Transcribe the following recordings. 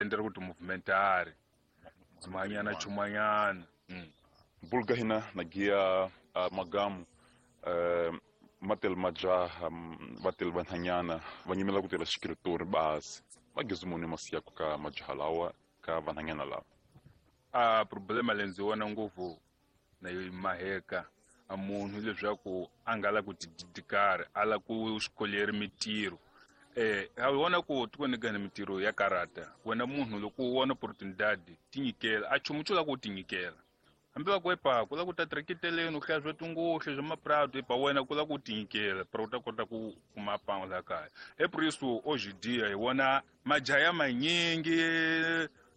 Endla ku ti-movementari dzumanyana chumanyana. Bulga hina na giya magamu matel majaha vatel vanhanyana va nyimela ku tirha xikiritori basi va gezimoni masiyaku ka majaha lawa ka vanhanyana lawa. A problema leyi ndzi vona ngopfu na yo maheka a munhu leswaku a nga la ku tididikari a la ku xikoleri mitirho a vona ku tikweni ka mitirho ya karata wena munhu loko u vona opportunidade tinyikela a chumu xo la ku tinyikela hambi va ku epa ku la ku ta tirekiteleni u hlaya swa tingohle swa maprado epa wena ku la ku tinyikela para u ta kota ku kuma pango la kaya e por isso hoje dia hi vona majaha ya manyingi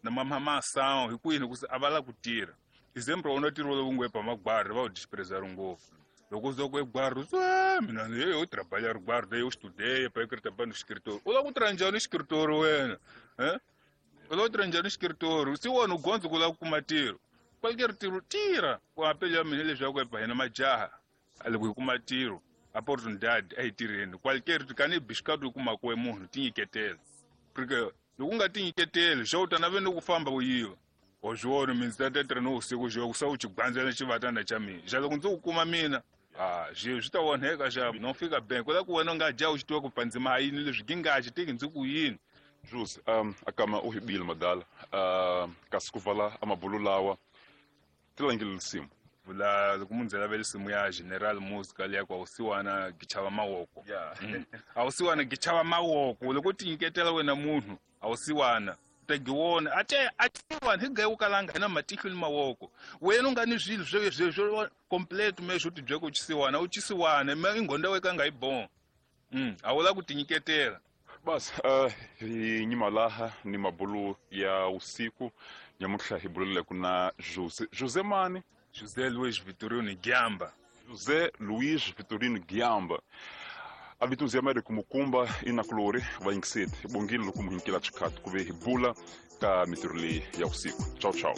na mamamasão hi ku yini ku a va la ku tirha example wona ntirho lowu ngo epa magwari va wu desprezar ngopfu loko uza ku egwari swe mina eu trabalhar guarda eu estudei para eu trabalhar no escritório u lava ku tirha njhani escritório wena u lava ku tirha njhani escritório se wona u gondzo ku lava ku kuma ntirho qualquer ntirho tirha ku apelo ya mina leswaku epa hina majaha loko hi kuma ntirho oportunidade a hi tirheni qualquer kani bixikati u kumaka we munhu tinyiketela porque loko u nga tinyiketeli xa u ta nave ni ku famba u yiva wa swi vona mina ndzi ta ta tirha ni vusiku xo ku sa u xigwandzela xivatana xa mina xa loko ndzi ku kuma mina a swi swi ta onheka xa no fika bank ku la ku wena u nga dya u xi tiva ku pandzima ha yini leswi ngingaxi tiki ndzi ku yini. Jules, akama u hibile madala kasi ku vala amabulu lawa tilangile lisimu vula loko munhu ndzi lavele simu ya General Musica leya ku awusiwana gichava mawoko. Awusiwana gichava mawoko loko u tinyiketela wena munhu awusiwana tagiwona ate atiwana hi gayi ukalanga hina matihlo ni mawoko wena u nga ni swilo swo swo complete me swo tibyeka u chisiwana u chisiwana me inghonda weka nga yi bon a wu la ku tinyiketela. Basi hi nyima laha ni mabulu ya usiku nyamuhla hi bulele ku na Jose mani José Luiz Vitorino Giamba. José Luiz Vitorino Giamba a vito nzi ya Amerika Mukumba inakulori va yingiseti bongile loko mu hinkela xikhathi ku ve hi bula ka mitirho leyi ya usiku. Ciao ciao.